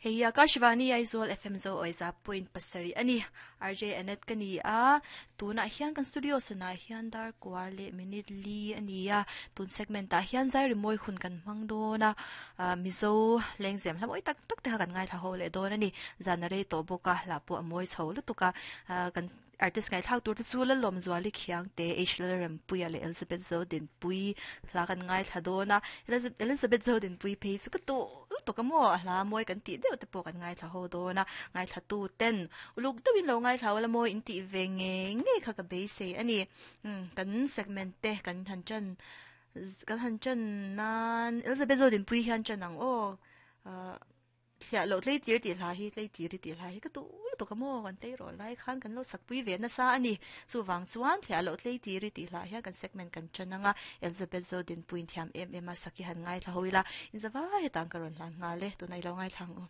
Hei hi Akashvani Aizawl FM zo awiza point pasarih a ni. RJ Annette ka ni a, tunah hian kan studio sanah hian dar kua leh minute li a ni a, tun segment ah hian zai rimawi hun kan hmang dawn a, ah Mizo lengzem hla mawi tak tak te kha kan ngaithla ho leh dawn a ni. Zan a rei tawh bawk a, hla pawh a mawi chho lutuk a, ah kan Artist ngaihthlak tur te chu Lalawmzuali Khiangte, H Lalrempuia leh Elizabeth Zodinpuii hla kan ngaithla dawn a, Elizabeth Zodinpuii phei chu ka duh lutuk a maw, a hla mawi kan tih deuh te pawh kan ngaithla ho dawn a, ngaithla tu ten uluk deuhin lo ngaithla ula mawi in tih ve ngei ngei kha ka beisei a ni. Umm kan segment te kan han ṭan kan han ṭan nan Elizabeth Zodinpuii hian ṭan ang aw ah. Thliah loh tleitir tih hla hi tleitir i tih hla hi ka duh lutuk a maw kan tleirawl lai khan kan lo chakpui ve nasa a ni. Chuvang chuan thliah loh tleitir i tih hla hian kan segment kan tan ang a, Elizabeth Zodinpuiin thiam em em a sak hi han ngaithla ho ila, inzavai hetang ka rawn hlan nghal e, tunah i lo ngaithla ang u.